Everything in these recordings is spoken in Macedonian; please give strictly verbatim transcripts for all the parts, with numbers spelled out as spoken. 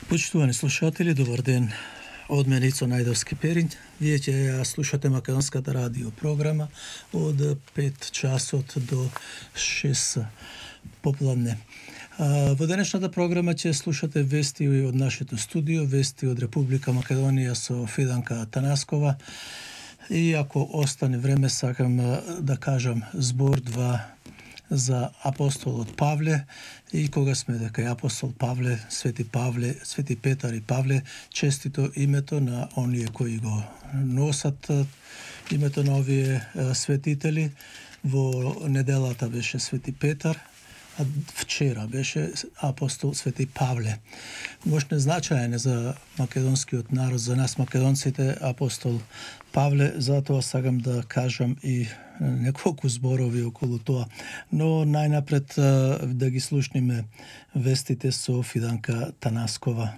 Почитувани слушатели, добар ден. Од мене Ицо Најдовски Перин. Вие ќе ја слушате македонската радио програма од пет часот до шест попладне. Во денешната програма ќе слушате вести од нашето студио, вести од Република Македонија со Фиданка Танаскова. И ако остане време, сакам да кажам збор-два за апостолот Павле, и кога сме дека е апостол Павле, Свети Павле, Свети Петар и Павле, честито името на оние кои го носат името на овие светители. Во неделата беше Свети Петар, а вчера беше апостол Свети Павле. Мощне значаен е за македонскиот народ, за нас македонците, апостол Павле, затоа сакам да кажам и неколку зборови околу тоа. Но најнапред да ги слушниме вестите со Фиданка Танаскова.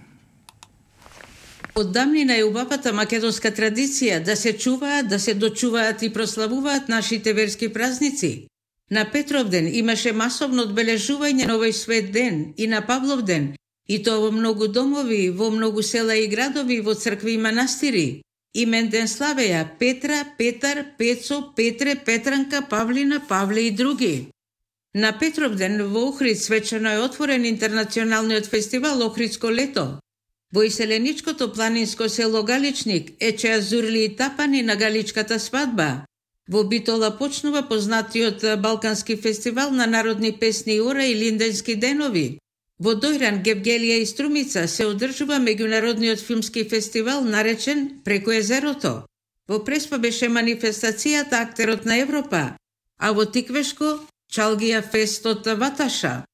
Од давнина е убавата македонска традиција да се чуваат, да се дочуваат и прославуваат нашите верски празници. На Петровден имаше масовно одбележување на овој свет ден и на Павловден, и тоа во многу домови, во многу села и градови, во цркви и манастири. Имен ден славеја Петра, Петар, Пецо, Петре, Петранка, Павлина, Павле и други. На Петровден во Охрид свечено е отворен интернационалниот фестивал Охридско лето. Во иселеничкото планинско село Галичник ечеа зурли и тапани на галичката свадба. Во Битола почнува познатиот балкански фестивал на народни песни Ора и Линденски денови. Во Дојран, Гевгелија и Струмица се одржува меѓународниот филмски фестивал наречен Преку езерото. Во Преспа беше манифестацијата Актерот на Европа, а во Тиквешко Чалгија фестот Ваташа.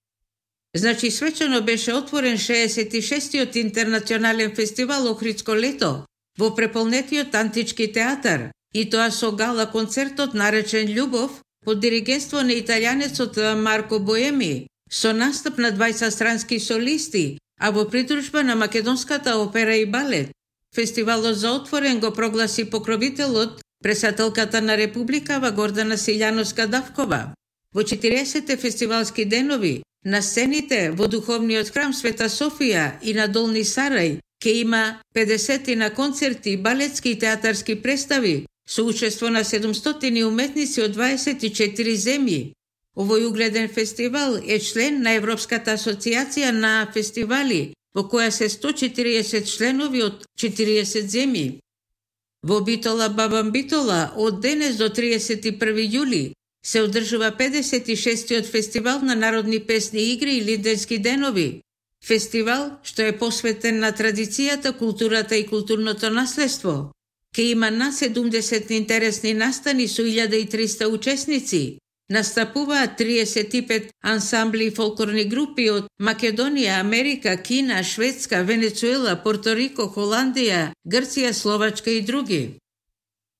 Значи свечено беше отворен шеесет и шестиот интернационален фестивал Охридско лето во преполнетиот антички театар, и тоа со гала концертот наречен Љубов под диригентство на италијанецот Марко Боеми, со настап на двајцет странски солисти, а во придружба на македонската опера и балет. Фестивалот за отворен го прогласи покровителот, председателката на Републикава Гордана Силјановска-Давкова. Во четириесетте фестивалски денови на сцените во духовниот храм Света Софија и на Долни Сарај ке има педесет на концерти, балетски и театарски представи со учество на седумстотини уметници од дваесет и четири земји. Овој угледен фестивал е член на Европската асоцијација на фестивали, во која се сто и четириесет членови од четириесет земји. Во Битола Бабам Битола од денес до триесет и први јули се одржува педесет и шестиот фестивал на народни песни, игри и линденски денови. Фестивал што е посветен на традицијата, културата и културното наследство. Ке има на седумдесет интересни настани со илјада и триста учесници. Настапуваат триесет и пет ансамбли и фолклорни групи од Македонија, Америка, Кина, Шведска, Венецуела, Порторико, Холандија, Грција, Словачка и други.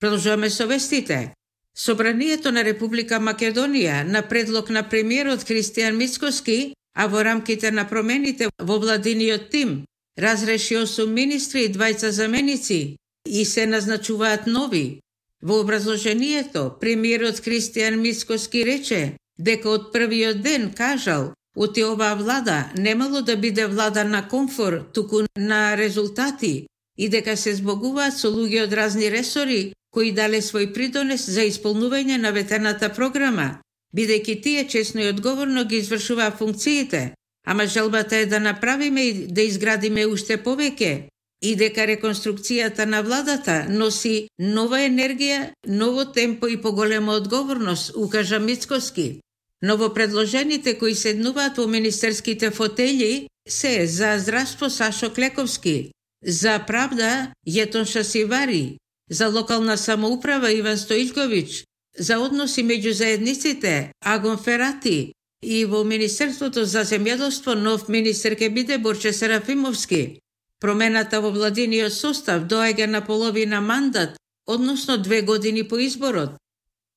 Продолжуваме со вестите. Собранието на Република Македонија на предлог на премиерот Христијан Мицкоски, а во рамките на промените во владиниот тим, разреши осум министри и двајца заменици и се назначуваат нови. Во образложението, премиерот Христијан Мицкоски рече дека од првиот ден кажал оти оваа влада немало да биде влада на комфор, туку на резултати, и дека се збогуваат со луѓе од разни ресори кои дале свој придонес за исполнување на ветената програма, бидејќи тие честно и одговорно ги извршуваа функциите, ама желбата е да направиме и да изградиме уште повеќе, и дека реконструкцијата на владата носи нова енергија, ново темпо и поголема одговорност, укажа Мицкоски. Новопредложените кои седнуваат во министерските фотели се за здравство Сашо Клековски, за правда Јетон Шасивари, за локална самоуправа Иван Стоилковиќ, за односи меѓу заедниците Агон Ферати, и во Министерството за земјоделство нов министер ке биде Борче Серафимовски. Промената во владиниот состав доаѓа на половина мандат, односно две години по изборот.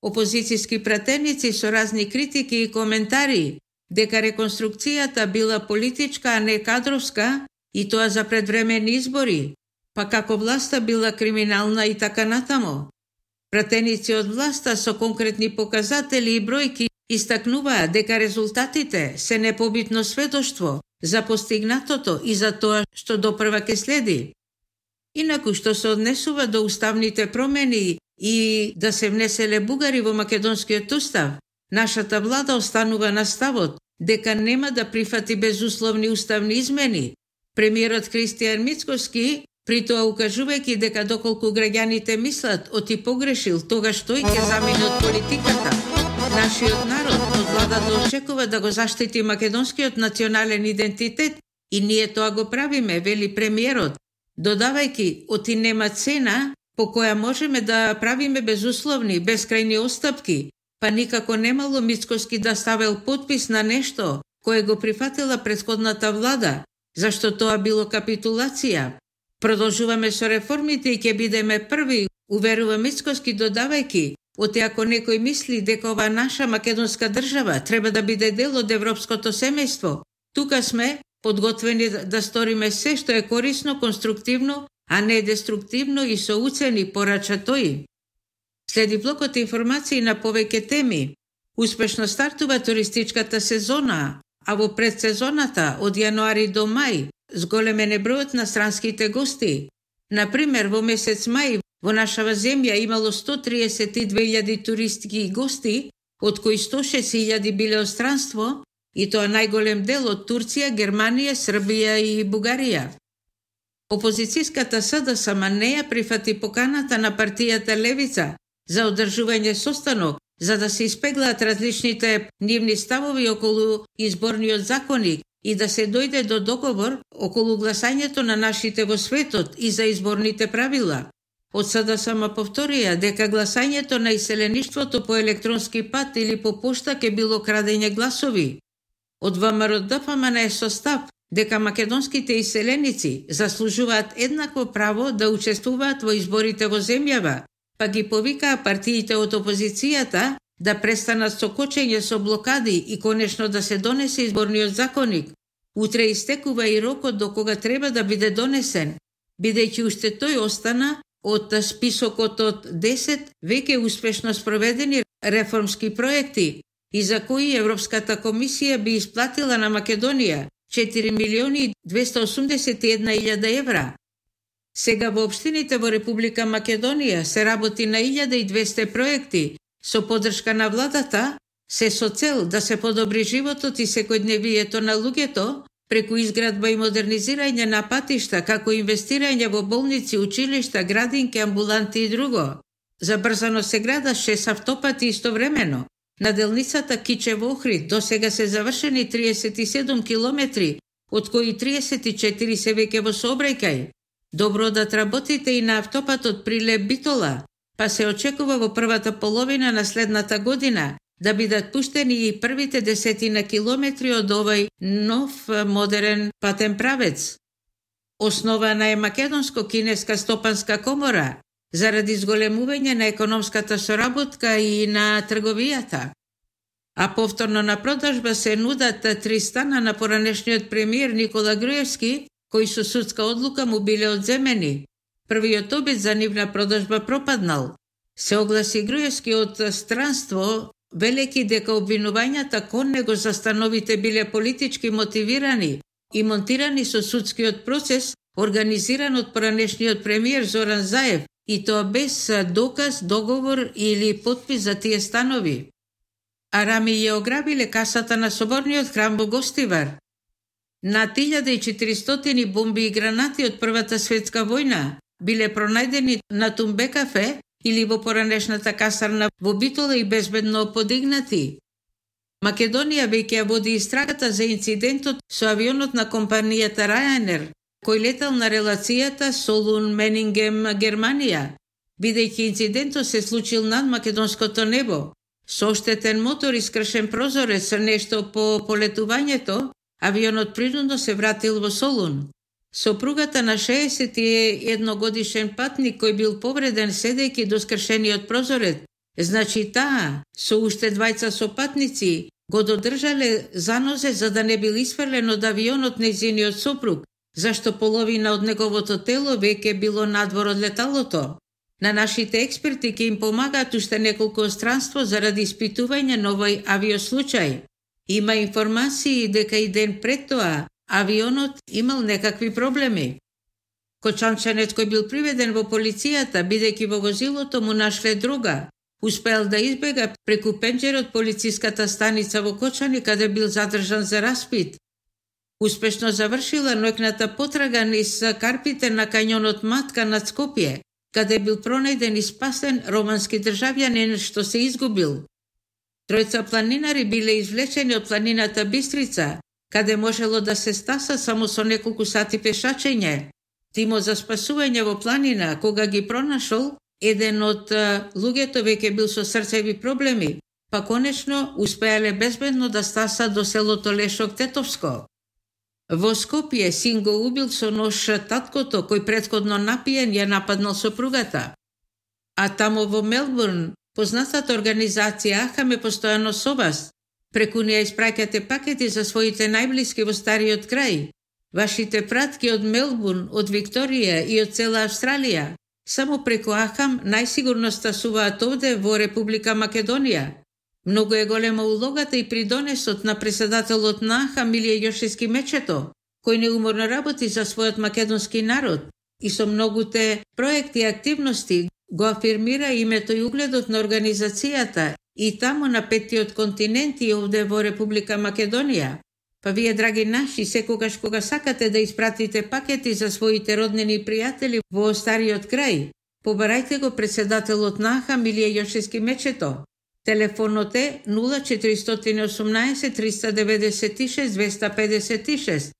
Опозицијски пратеници со разни критики и коментари дека реконструкцијата била политичка, а не кадровска, и тоа за предвремени избори, па како власта била криминална и така натамо. Пратеници од власта со конкретни показатели и бројки истакнуваа дека резултатите се непобитно сведоштво за постигнатото и за тоа што допрва ке следи. Инаку што се однесува до уставните промени и да се внеселе бугари во македонскиот устав, нашата влада останува на ставот дека нема да прифати безусловни уставни измени. Премиерот Христијан Мицкоски, при тоа укажувајќи дека доколку граѓаните мислат оти погрешил, тогаш тој ќе замине од политиката. Нашиот народ од владата очекува да го заштити македонскиот национален идентитет и ние тоа го правиме, вели премиерот, додавајќи оти нема цена по која можеме да правиме безусловни, безкрајни остапки, па никако немало Мицкоски да ставил подпис на нешто кое го прифатила претходната влада, зашто тоа било капитулација. Продолжуваме со реформите и ќе бидеме први, уверува Мицкоски, додавајќи, оти ако некој мисли дека ова наша македонска држава треба да биде дел од европското семејство, тука сме подготвени да сториме се што е корисно, конструктивно, а не деструктивно и со уцени, порача тој. Следи блокот информации на повеќе теми. Успешно стартува туристичката сезона, а во предсезоната од јануари до мај зголемен е бројот на странските гости. Например, во месец мај во нашава земја имало сто триесет и две илјади туристки гости, од кои сто шест илјади биле од странство, и тоа најголем дел од Турција, Германија, Србија и Бугарија. Опозицијската СДСМ не ја прифати поканата на партијата Левица за одржување состанок, за да се испеглаат различните нивни ставови околу изборниот законник и да се дојде до договор околу гласањето на нашите во светот и за изборните правила. Од СДСМ повторија дека гласањето на иселеништвото по електронски пат или по пошта ќе било крадење гласови. Од ВМРО ДФМН е состав дека македонските иселеници заслужуваат еднакво право да учествуваат во изборите во земјава, па ги повикаа партиите од опозицијата да престанат со кочење со блокади и конечно да се донесе изборниот законник. Утре истекува и рокот до кога треба да биде донесен, бидејќи уште тој остана од списокот од десет веќе успешно спроведени реформски проекти и за кои Европската комисија би исплатила на Македонија четири милиони двесте осумдесет и една илјада евра. Сега во општините во Република Македонија се работи на илјада и двесте проекти со поддршка на владата, се со цел да се подобри животот и секојдневието на луѓето преку изградба и модернизирање на патишта, како инвестирање во болници, училишта, градинки, амбуланти и друго. Забрзано се града шест автопати истовремено. На делницата Кичево-Охрид до сега се завршени триесет и седум километри, од кои триесет и четири се веќе во сообраќај. Добро да работите и на автопатот Прилеп-Битола, па се очекува во првата половина на следната година да бидат пуштени и првите десетина километри од овој нов модерен патен правец. Основана е Македонско-кинеска стопанска комора заради зголемување на економската соработка и на трговијата. А повторно на продажба се нудат три стана на поранешниот премиер Никола Груевски, кои со судска одлука му биле одземени. Првиот обид за нивна продажба пропаднал. Се огласи Груевски од странство, велејќи дека обвинувањата кон него за становите биле политички мотивирани и монтирани со судскиот процес, организиран од поранешниот премиер Зоран Заев, и тоа без доказ, договор или подпис за тие станови. Арами ја ограбиле касата на соборниот храм во Гостивар. Над илјада и четиристотини бомби и гранати од Првата светска војна биле пронајдени на Тумбе кафе или во поранешната касарна во Битола и безбедно подигнати. Македонија веќе ја води истрагата за инцидентот со авионот на компанијата Ryanair, кој летал на релацијата Солун-Менингем, Германија, бидејќи инцидентот се случил над македонското небо. Со оштетен мотор и скршен прозорец, нешто по полетувањето, авионот принудно се вратил во Солун. Сопругата на шеесет и едногодишен патник кој бил повреден седејќи до скршениот прозорец, значи таа, со уште двајца сопатници, го додржале за нозе за да не бил исфрлен од авионот нејзиниот сопруг, зашто половина од неговото тело веќе било надвор од леталото. На нашите експерти ќе им помагаат уште неколку странство заради испитување на овој авиослучај. Има информации дека и ден пред тоа авионот имал некакви проблеми. Кочанчанец кој бил приведен во полицијата, бидејќи во возилото му нашле дрога, успеал да избега преку пенџерот полициската станица во Кочани, каде бил задржан за распит. Успешно завршила ноќната потрага низ карпите на кањонот Матка над Скопје, каде бил пронајден и спасен романски државјанин што се изгубил. Тројца планинари биле извлечени од планината Бистрица, каде можело да се стаса само со неколку сати пешачење. Тимот за спасување во планина, кога ги пронашол, еден од луѓето веќе бил со срцеви проблеми, па конечно успеале безбедно да стаса до селото Лешок Тетовско. Во Скопје син го убил со нож таткото, кој претходно напиен ја нападнал сопругата. А тамо во Мелбурн, познатата организација Ахам е постојано со вас. Преку неја испраќате пакети за своите најблиски во стариот крај. Вашите пратки од Мелбурн, од Викторија и од цела Австралија, само преку Ахам најсигурно стасуваат овде во Република Македонија. Многу е голема улогата и придонесот на председателот на Ахам Илија Јошевски Мечето, кој неуморно работи за својот македонски народ и со многуте проекти и активности го афирмира името и угледот на организацијата и тамо на петтиот континент и овде во Република Македонија. Па вие, драги наши, секогаш кога сакате да испратите пакети за своите роднини и пријатели во стариот крај, побарајте го председателот на Ахам Илија Јошевски Мечето. Телефонот е нула четири осумнаесет триста деветдесет и шест двеста педесет и шест.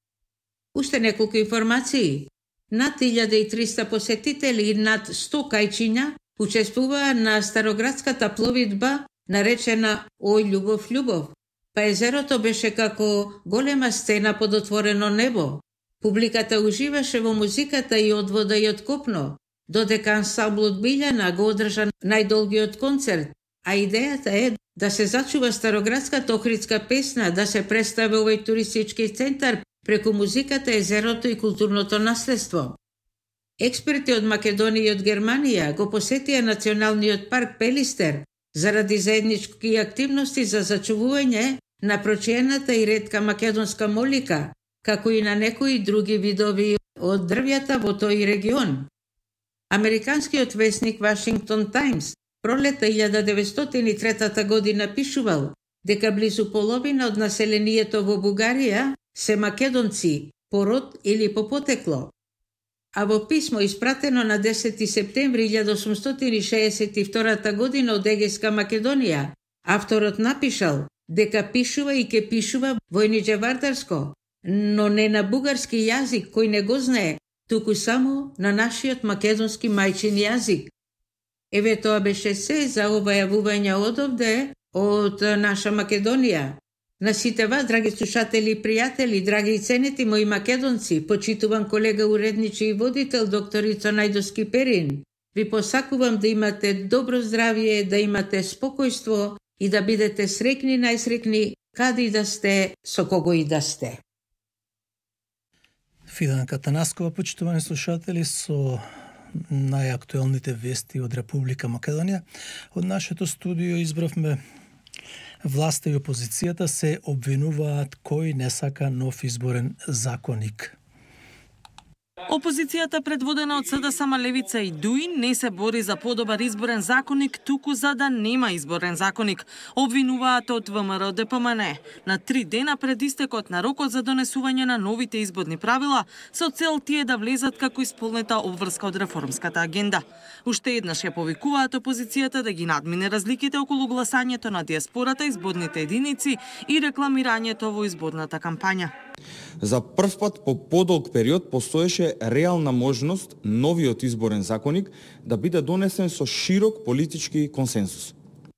Уште неколку информации. Над илјада и триста посетители и над сто кајчиња учествуваа на староградската пловидба наречена Ој љубов љубов. Па езерото беше како голема сцена под отворено небо. Публиката уживаше во музиката и од вода и од копно, додека ансамблот Билјана го одржа најдолгиот концерт, а идејата е да се зачува староградската охридска песна, да се представи овој туристички центар преку музиката, езерото и културното наследство. Експерти од Македонија и од Германија го посетија националниот парк Пелистер заради заеднички активности за зачувување на прочиената и ретка македонска молика, како и на некои други видови од дрвјата во тој регион. Американскиот весник Вашингтон Таймс пролета илјада деветстотини и трета година пишувал дека близу половина од населението во Бугарија се македонци по род или по потекло. А во писмо испратено на десети септември илјада осумстотини шеесет и втора година од Егејска Македонија, авторот напишал дека пишува и ке пишува војниџевардарско, но не на бугарски јазик кој не го знае, туку само на нашиот македонски мајчин јазик. Еве тоа беше се за ова јавување одовде од наша Македонија. На сите вас, драги слушатели и пријатели, драги и ценети мои македонци, почитуван колега уредничи и водител докторица Најдовски Перин, ви посакувам да имате добро здравје, да имате спокојство и да бидете срекни, најсрекни, каде и да сте, со кого и да сте. Фиданка Танаскова, почитувани слушатели, со најактуелните вести од Република Македонија. Од нашето студио избравме: власта и опозицијата се обвинуваат кој не сака нов изборен законник. Опозицијата, предводена од СДСМ, Левица и ДУИ, не се бори за подобар изборен законник, туку за да нема изборен законник, обвинуваат од ВМРО Д П М Н. На три дена пред истекот на рокот за донесување на новите изборни правила, со цел тие да влезат како исполнета обврска од реформската агенда. Уште еднаш ја повикуваат опозицијата да ги надмине разликите околу гласањето на диаспората, изборните единици и рекламирањето во изборната кампања. За прв пат по подолг период постоеше реална можност новиот изборен законник да биде донесен со широк политички консенсус.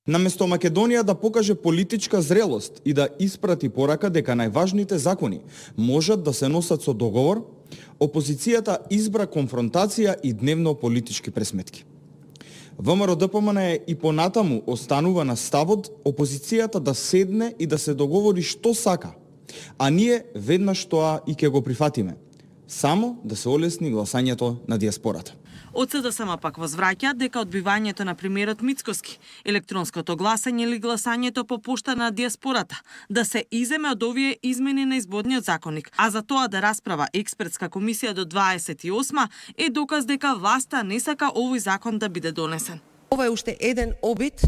Наместо Македонија да покаже политичка зрелост и да испрати порака дека најважните закони можат да се носат со договор, опозицијата избра конфронтација и дневно политички пресметки. ВМРО Д П М Н и понатаму останува на ставот опозицијата да седне и да се договори што сака, а ние веднаш тоа и ќе го прифатиме, само да се олесни гласањето на диаспората. Од СДСМ пак возвраќаат дека одбивањето на премиерот Мицкоски, електронското гласање или гласањето по пошта на диаспората да се иземе од овие измени на изборниот законник, а за тоа да расправа експертска комисија до дваесет и осма е доказ дека власта не сака овој закон да биде донесен. Ова е уште еден обид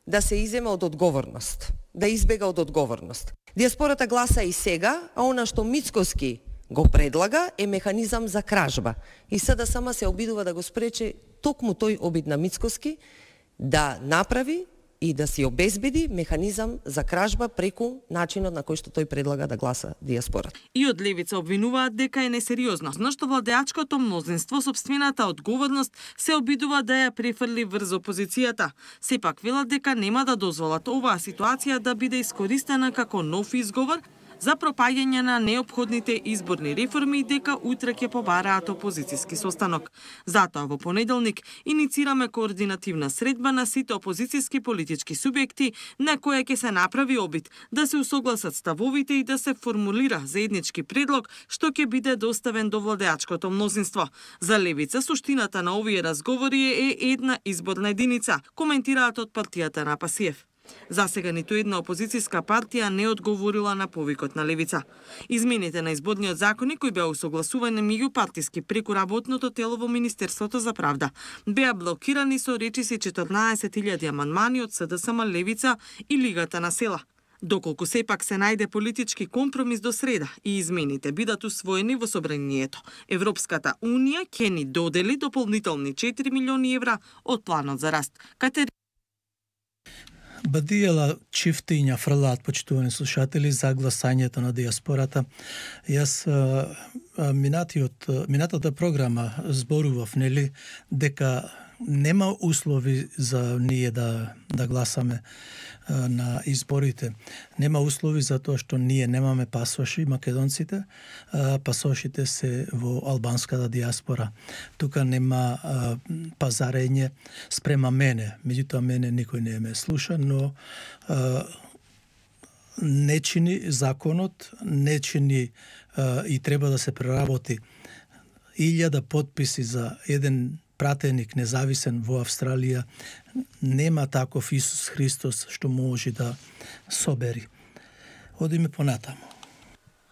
да се иземе од одговорност, да избега од одговорност. Диаспората гласа и сега, а она што Мицкоски го предлага е механизам за кражба. И СДСМ се обидува да го спречи токму тој обид на Мицкоски да направи и да си обезбеди механизам за кражба преку начинот на кој што тој предлага да гласа диаспората. И од левица обвинуваат дека е несериозно, но што владеачкото мнозинство сопствената одговорност се обидува да ја префрли врз опозицијата. Сепак велат дека нема да дозволат оваа ситуација да биде искористена како нов изговор за пропаѓање на неопходните изборни реформи и дека утре ќе побараат опозицијски состанок. Затоа во понеделник иницираме координативна средба на сите опозицијски политички субјекти на која ќе се направи обид да се усогласат ставовите и да се формулира заеднички предлог што ќе биде доставен до владеачкото мнозинство. За левица суштината на овие разговори е една изборна единица, коментираат од партијата на Пасиев. За сега ниту една опозицијска партија не одговорила на повикот на левица. Измените на изборниот законник кои беа усогласувани меѓупартиски преку работното тело во Министерството за правда беа блокирани со речиси четрнаесет илјади амандмани од СДСМ, левица и Лигата на села. Доколку сепак се најде политички компромис до среда и измените бидат усвоени во собранието, Европската унија ќе ни додели дополнителни четири милиони евра од планот за раст. Катери... Бадијала чифтиња фрлаат, почитувани слушатели, за гласањето на диаспората. Јас а, а, минатиот, минатата програма зборував, нели, дека нема услови за ние да, да гласаме а, на изборите. Нема услови за тоа што ние немаме пасоши, македонците, а, пасошите се во албанската диаспора. Тука нема а, пазарење спрема мене, меѓутоа мене никој не ме слуша, но а, не чини законот, не чини а, и треба да се преработи илјада подписи за еден пратеник независен во Австралија. Нема таков Исус Христос што може да собери. Одиме понатаму.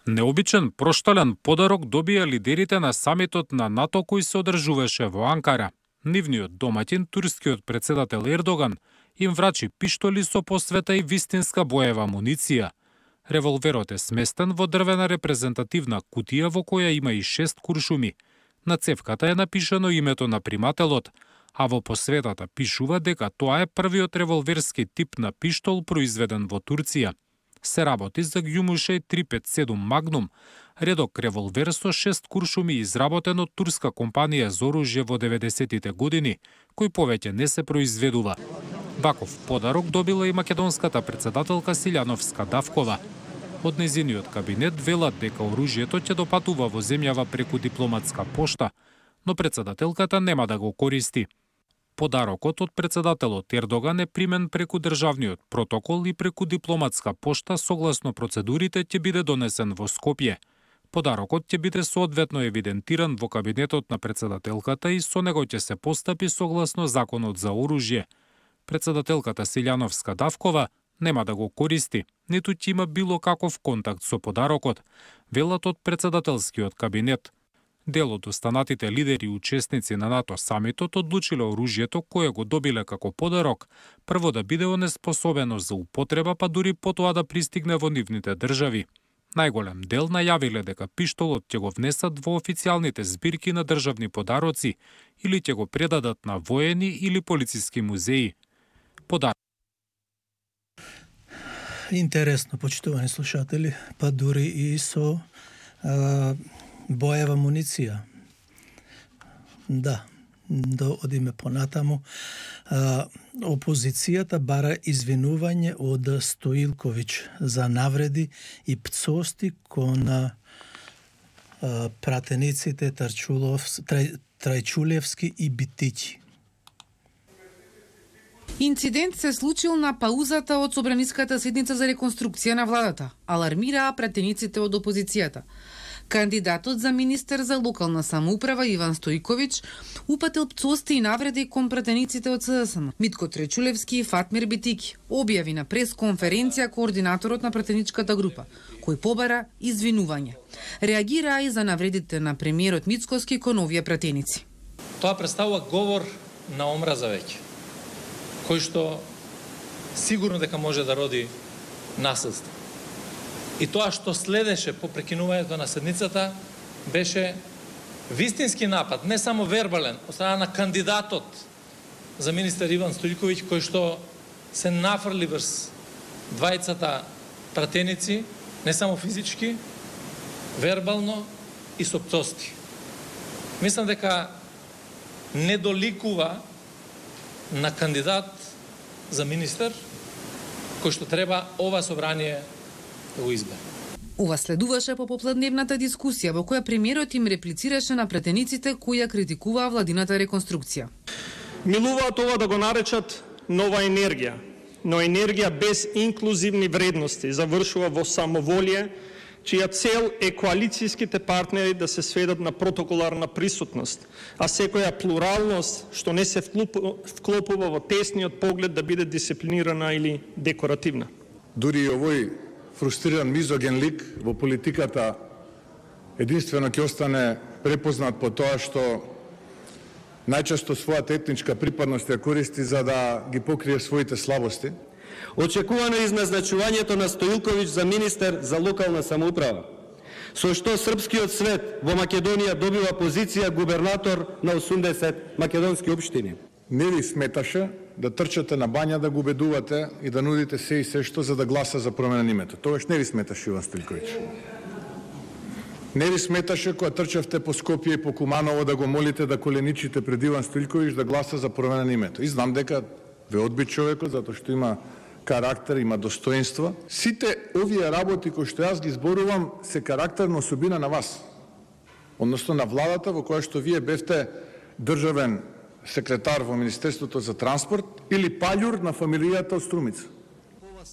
Необичен проштален подарок добија лидерите на самитот на НАТО кој се одржуваше во Анкара. Нивниот домаќин, турскиот председател Ердоган, им врачи пиштоли со посвета и вистинска боева амуниција. Револверот е сместен во дрвена репрезентативна кутија во која има и шест куршуми. На цевката е напишано името на примателот, а во посветата пишува дека тоа е првиот револверски тип на пиштол произведен во Турција. Се работи за Ѓумушеј триста петдесет и седум Магнум, редок револвер со шест куршуми изработен од турска компанија за оружје во деветдесетите години, кој повеќе не се произведува. Ваков подарок добила и македонската председателка Силјановска Давкова. Од незиниот кабинет велат дека оружјето ќе допатува во земјава преку дипломатска пошта, но председателката нема да го користи. Подарокот од председателот Ердоган е примен преку државниот протокол и преку дипломатска пошта согласно процедурите ќе биде донесен во Скопје. Подарокот ќе биде соодветно евидентиран во кабинетот на председателката и со него ќе се постапи согласно законот за оружје. Председателката Силјановска Давкова нема да го користи, ниту ќе има било каков контакт со подарокот, велат од председателскиот кабинет. Дел од останатите лидери и учесници на НАТО самитот одлучиле оружјето кое го добиле како подарок, прво да биде онеспособено за употреба, па дури потоа да пристигне во нивните држави. Најголем дел најавиле дека пиштолот ќе го внесат во официјалните збирки на државни подароци или ќе го предадат на воени или полициски музеи. Подар... Интересно, почитувани слушатели, па дури и со а, боева амуниција. Да, да одиме понатаму. А, опозицијата бара извинување од Стоилковиќ за навреди и пцости кон а, пратениците Трај, Трајчулевски и Битиќи. Инцидент се случил на паузата од собраниската седница за реконструкција на владата, алармираа пратениците од опозицијата. Кандидатот за министер за локална самоуправа Иван Стојковиќ упатил пцости и навреди кон пратениците од СДСМ. Митко Тречулевски и Фатмир Битики објави на прес-конференција координаторот на пратеничката група, кој побара извинување. Реагираа и за навредите на премиерот Мицкоски кон овие пратеници. Тоа представува говор на омраза веќе, кој што сигурно дека може да роди насилство. И тоа што следеше по прекинувањето на седницата беше вистински напад, не само вербален, од страна на кандидатот за министер Иван Стојковиќ, кој што се нафрли врз двајцата пратеници, не само физички, вербално и со пцости. Мислам дека не доликува на кандидат за министер кој што треба ова собрание да го избере. Ова следуваше по попладневната дискусија во која премиерот им реплицираше на пратениците кои ја критикуваа владината реконструкција. Милуваат ова да го наречат нова енергија, но енергија без инклузивни вредности завршува во самоволие, чија цел е коалицијските партнери да се сведат на протоколарна присутност, а секоја плуралност што не се вклопува во тесниот поглед да биде дисциплинирана или декоративна. Дури и овој фрустриран мизоген лик во политиката единствено ќе остане препознат по тоа што најчесто својата етничка припадност ја користи за да ги покрие своите слабости. Очекувано е изназначувањето на Стојковиќ за министер за локална самоуправа, со што српскиот свет во Македонија добива позиција губернатор на осумдесет македонски општини. Не ви сметаше да трчате на бања да го убедувате и да нудите се и се што за да гласа за промена на името. Тогаш не ви сметаше Иван Стојковиќ. Не ви сметаше кога трчавте по Скопје и по Куманово да го молите да коленичите пред Иван Стојковиќ да гласа за промена на името. И знам дека ве одби човекот затоа што има карактер, има достоинство. Сите овие работи кои што јас ги зборувам се карактерна особина на вас. Односно на владата во која што вие бевте државен секретар во Министерството за транспорт или паѓур на фамилијата од Струмица.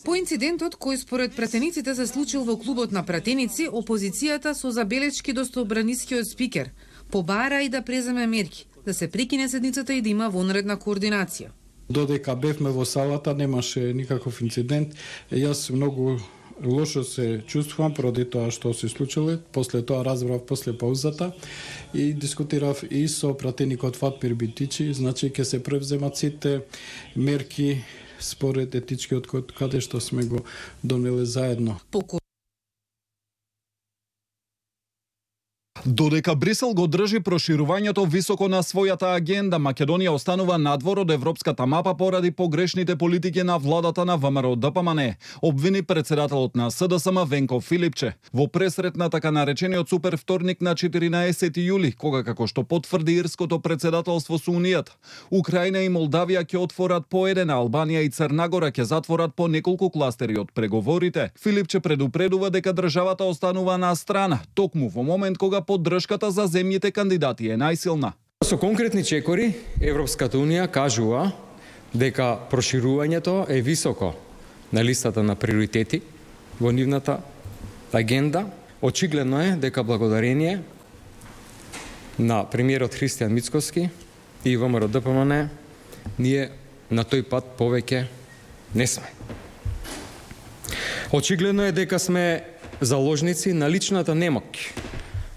По инцидентот кој според пратениците се случил во клубот на пратеници, опозицијата со забелешки до собранискиот спикер побара и да преземе мерки, да се прекине седницата и да има вонредна координација. Додека бевме во салата немаше никаков инцидент. Јас многу лошо се чувствувам поради тоа што се случило. После тоа разбрав после паузата и дискутирав и со пратеникот Фатмир Битичи, значи ќе се превземат сите мерки според етичкиот код каде што сме го донеле заедно. Додека Брисел го држи проширувањето високо на својата агенда, Македонија останува надвор од европската мапа поради погрешните политики на владата на ВМРО Д П М Н, обвини председателот на С Д С М Венко Филипче во пресрет на така наречениот супер вторник на четиринаесети јули, кога како што потврди ирското председателство со Унијата, Украина и Молдавија ќе отворат по еден, а Албанија и Црна Гора ќе затворат по неколку кластери од преговорите. Филипче предупредува дека државата останува на страна, токму во момент кога поддршката за земјите кандидати е најсилна. Со конкретни чекори, Европската Унија кажува дека проширувањето е високо на листата на приоритети во нивната агенда. Очигледно е дека благодарение на премиерот Христијан Мицкоски и ВМРО Д П М Н ние на тој пат повеќе не сме. Очигледно е дека сме заложници на личната немоќ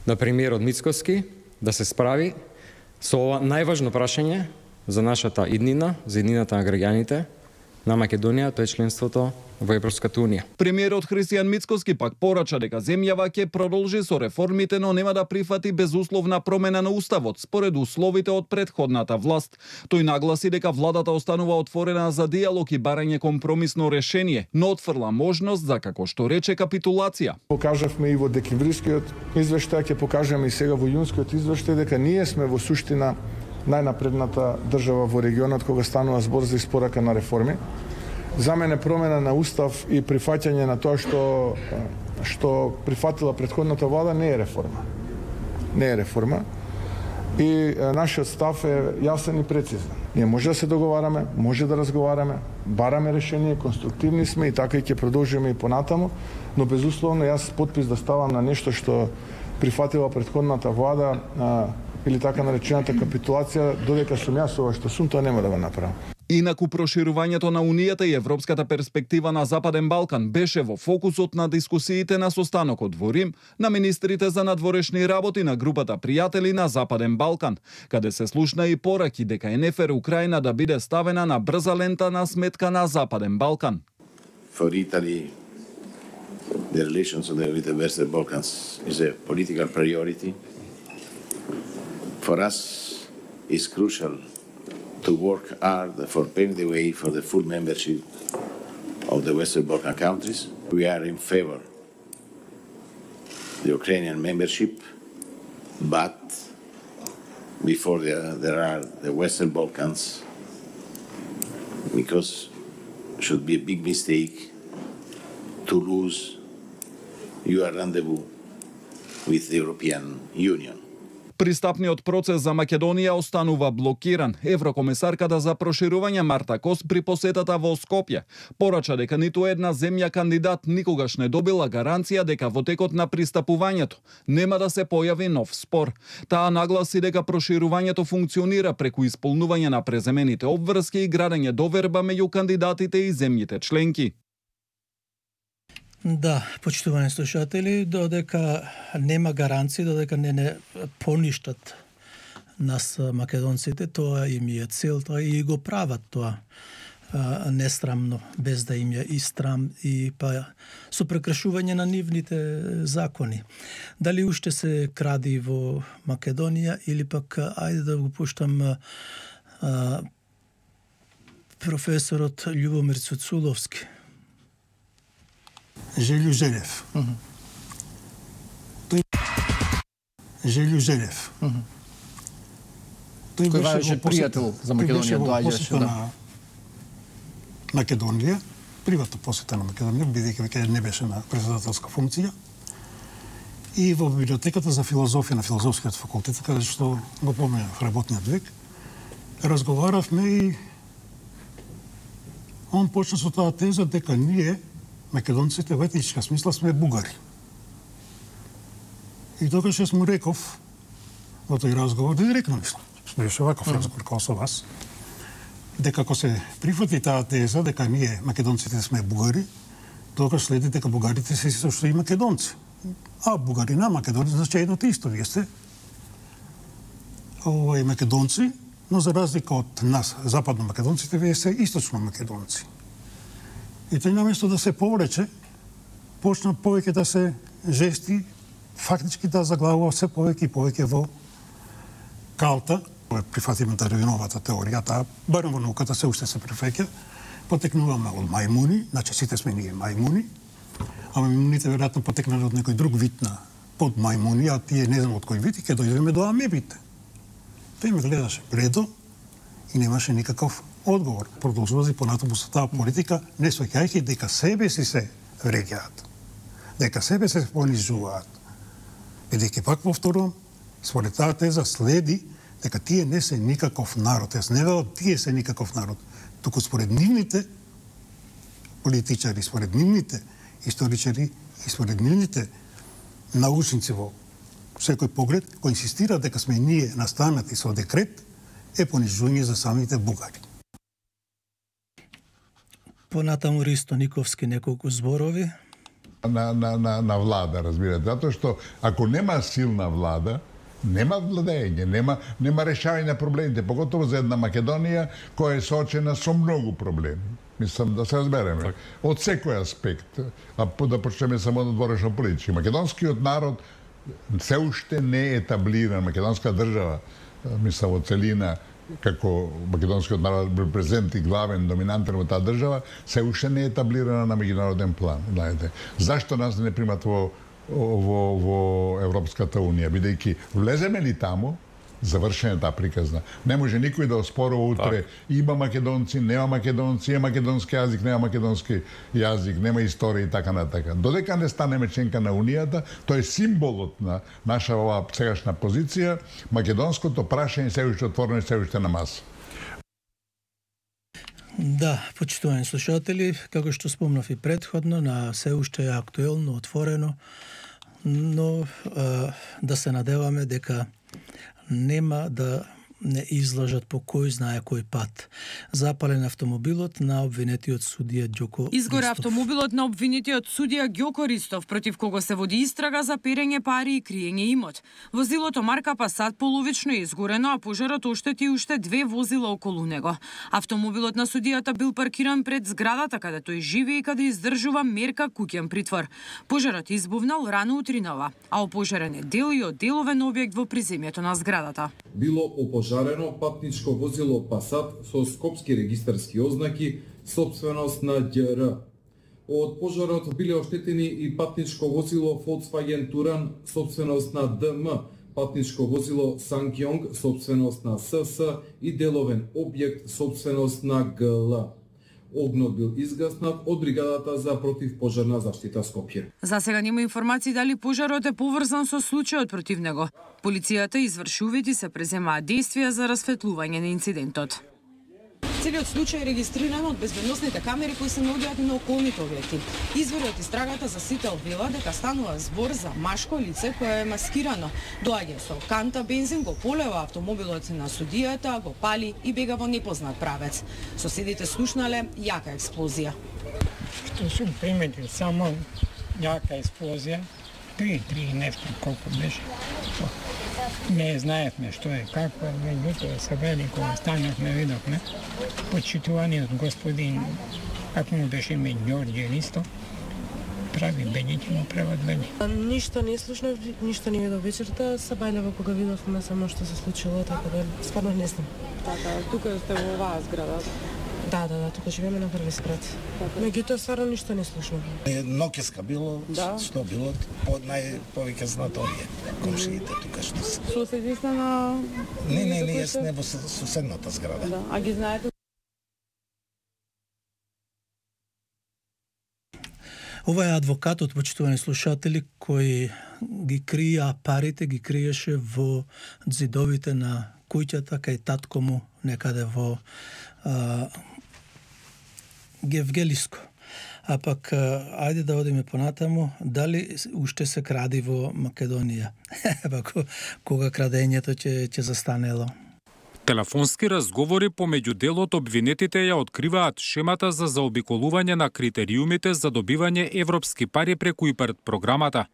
на премиерот Мицкоски да се справи со ова најважно прашање за нашата иднина, за иднината на граѓаните на Македонија, тоа е членството во Европската Унија. Премиерот Христијан Мицкоски пак порача дека земјава ќе продолжи со реформите, но нема да прифати безусловна промена на уставот според условите од претходната власт. Тој нагласи дека владата останува отворена за диалог и барање компромисно решение, но отфрла можност за, како што рече, капитулација. Покажавме и во декемврискиот извештај, ќе покажеме и сега во јунскиот извештај дека ние сме во суштина најнапредната држава во регионот кога станува збор за испорака на реформи. За мене промена на устав и прифаќање на тоа што што прифатила претходната влада не е реформа. Не е реформа. И нашиот став е јасен и прецизен. Ние може да се договараме, може да разговараме, бараме решение, конструктивни сме и така и ќе продолжиме и понатаму, но безусловно јас подпис да ставам на нешто што прифатила претходната влада а, или така наречената капитулација, додека сум јас ова што сум, тоа нема да го направам. Инаку проширувањето на Унијата и европската перспектива на Западен Балкан беше во фокусот на дискусиите на состанокот во Рим на министрите за надворешни работи на групата пријатели на Западен Балкан, каде се слушна и пораки дека е нефер Украина да биде ставена на брза лента на сметка на Западен Балкан. For Italy, the relations with the Western Balkans is a political priority. For us, it's crucial to work hard for paving the way for the full membership of the Western Balkan countries. We are in favor of the Ukrainian membership, but before there, there are the Western Balkans, because it should be a big mistake to lose your rendezvous with the European Union. Пристапниот процес за Македонија останува блокиран. Еврокомесарката за проширување Марта Кос при посетата во Скопје порача дека ниту една земја кандидат никогаш не добила гаранција дека во текот на пристапувањето нема да се појави нов спор. Таа нагласи дека проширувањето функционира преку исполнување на преземените обврски и градење доверба меѓу кандидатите и земјите членки. Да, почитувани слушатели, додека нема гаранции, додека не не поништат нас македонците, тоа им е целта и го прават тоа а, несрамно, без да им е и срам и па со прекршување на нивните закони. Дали уште се кради во Македонија или пак ајде да го пуштам а, професорот Љубомир Цуцуловски. Желју Желев. Mm-hmm. Тој Желју Желев. Mm-hmm. Тој Кој беше пријател за Македонија, доаѓаше да. Македонија, приватна посета на Македонија, бидејќи веќе не беше на председателска функција. И во библиотеката за филозофија на филозофскиот факултет, каде што го поминав работниот век, разговаравме и он почна со таа теза дека ние македонците во етничка смисла сме бугари. И тогаш јас му реков во тој разговор, директно мислам, беше ваков разговор како со вас, дека ако се прифати таа теза дека ние македонците сме бугари, тогаш следи дека бугарите се исто што и македонци. А бугарина, македонци, значи едно те исто, вие сте овој македонци, но за разлика од нас, западно македонците, вие се источно македонци. И тој наместо да се поврече, почна повеќе да се жести, фактички да заглавува се повеќе и повеќе во калта, прифатиме Дарвиновата теорија, таа барем во науката се уште се прифаќа, потекнуваме од мајмуни, значи сите сме ние мајмуни, а мајмуните веројатно потекнале од некој друг вид на под мајмуни, а тие не знам од кој вид и ќе дојдеме до амебите. Тој ме гледаше бледо и немаше никаков одговор. Продолжува и понатаму со таа политика, не сваќајќи дека себе си се вреќаат, дека себе се понижуваат. Бидејќи пак повторувам, според таа теза следи дека тие не се никаков народ. Јас не велам тие се никаков народ, туку според нивните политичари, според нивните историчари и според нивните научници во секој поглед, кој инсистира дека сме ние настанати со декрет, е понижување за самите бугари. Понатаму Ристо Никовски неколку зборови. На, на, на, на влада, разбирате. Затоа што ако нема силна влада, нема владење, нема, нема решавање на проблемите, поготово за една Македонија која е соочена со многу проблеми. Мислам да се разбереме. Од секој аспект. А да почнеме само од дворешно политички. Македонскиот народ се уште не е етаблиран, македонска држава, мислам во целина, како македонскиот народ бил презент и главен, доминантен во таа држава, се уште не е етаблирана на меѓународен план. Знаете, зашто нас не примат во, во, во Европската Унија? Бидејќи влеземе ли таму, завршена таа приказна. Не може никој да оспорува утре так. Има македонци, нема македонци, има македонски јазик, нема македонски јазик, нема историја и така натака. Додека не станеме членка на Унијата, тој е символот на наша оваа сегашна позиција, македонското прашање се уште отворено и се уште на маса. Да, почитувани слушатели, како што спомнав и претходно, на се уште е актуелно, отворено, но да се надеваме дека нема да не излажат по кој знае кој пат. Запален автомобилот на обвинетиот судија Ѓоко Изгоре Ристов. автомобилот на обвинетиот судија Ѓоко Ристов, против кого се води истрага за перење пари и криење имот. Возилото марка Пасат половично е изгорено, а пожарот оштети уште две возила околу него. Автомобилот на судијата бил паркиран пред зградата каде тој живее и каде издржува мерка куќен притвор. Пожарот избувнал рано утринава, а опожарен е дел и одделовен објект во приземјето на зградата. Било опожарено патничко возило Пасат со скопски регистарски ознаки, собственост на ѓ р. Од пожарот биле оштетени и патничко возило Volkswagen Туран, собственост на д м, патничко возило Сангјонг, собственост на с с и деловен објект, собственост на г л. Огнот бил изгаснат од бригадата за противпожарна заштита Скопје. За сега нема информации дали пожарот е поврзан со случајот против него. Полицијата изврши увид и се преземаат действија за расветлување на инцидентот. Целиот случај е регистриран од безбедносните камери кои се наоѓаат на околните објекти. Извори од истрагата за сите обвила дека станува збор за машко лице кое е маскирано. Доаѓа со канта бензин, го полева автомобилот на судијата, го пали и бега во непознат правец. Соседите слушнале јака експлозија. Што сум приметил само јака експлозија, три, три нешто колку беше. Не знаевме што е, како е, меѓутоа се вели кога станавме, видовме почитуваниот господин, како му беше име Ѓорѓе Ристо, прави бењеќи му прават бење. Ништо не слушнав, ништо не видов вечерта, се бајлево кога видовме само што се случило, така да стварно не знам. Така, тука сте во оваа зграда? Да, да, да, тука живееме на први спрат. Меѓутоа стварно ништо не слушнав. Ноќеска било, да? Што било, по најповеќе знат овие комшиите тука што се. Соседи сте на... Не, не, не, јас не во соседната зграда. Да, а ги знаете? Ова е адвокатот, почитувани слушатели, кој ги крија парите, ги криеше во ѕидовите на куќата кај татко му некаде во а, Гевгелиско. А пак, ајде да одиме понатаму, дали уште се кради во Македонија? Пак, кога крадењето ќе ќе застанело? Телефонски разговори помеѓу дел од обвинетите ја откриваат шемата за заобиколување на критериумите за добивање европски пари преку ИПАРД програмата.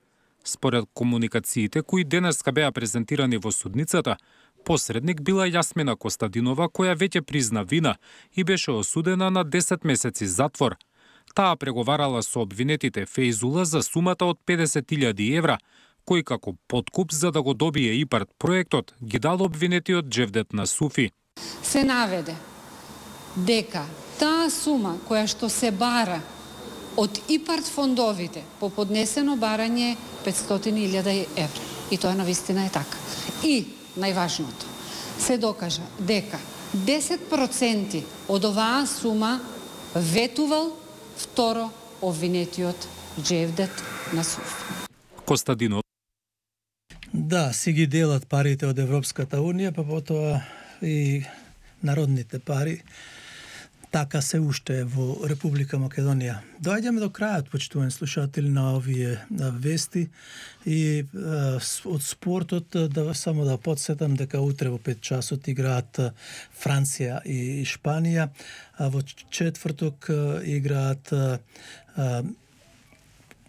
Според комуникациите кои денеска беа презентирани во судницата, посредник била Јасмина Костадинова, која веќе призна вина и беше осудена на десет месеци затвор. Таа преговарала со обвинетите Фейзула за сумата од педесет илјади евра, кој како подкуп за да го добие ИПАРД проектот ги дал обвинетиот Џевдет Насуфи. Се наведе дека таа сума која што се бара од ИПАРД фондовите по поднесено барање петстотини илјади евра. И тоа навистина е така. И најважното, се докажа дека десет проценти од оваа сума ветувал второ обвинетиот Џевдет Насуфи. Костадинов. Да, си ги делат парите од Европската Унија, па потоа и народните пари. Така се уште во Република Македонија. Доаѓаме до крајот, почитувани слушатели, на овие вести и а, од спортот да само да подсетам дека утре во пет часот играат Франција и Шпанија, а во четврток играат а,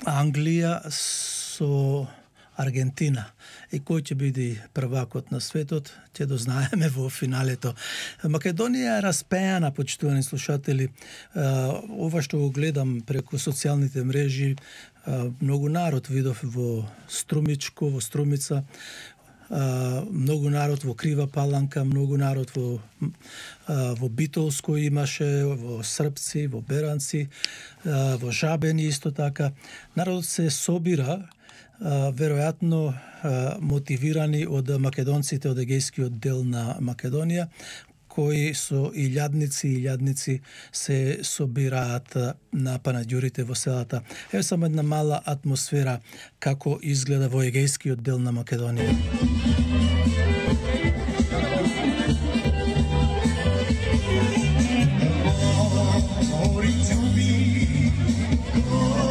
Англија со Аргентина. И кој ќе биде првакот на светот, ќе дознаеме во финалето. Македонија е распеана, почитувани слушатели. Ова што го гледам преку социјалните мрежи, многу народ видов во Струмичко, во Струмица, многу народ во Крива Паланка, многу народ во во Битолско имаше, во Српци, во Беранци, во Жабени исто така. Народот се собира веројатно мотивирани од македонците од егејскиот дел на Македонија, кои со илјадници и илјадници се собираат на панаѓурите во селата. Еве само една мала атмосфера како изгледа во егејскиот дел на Македонија.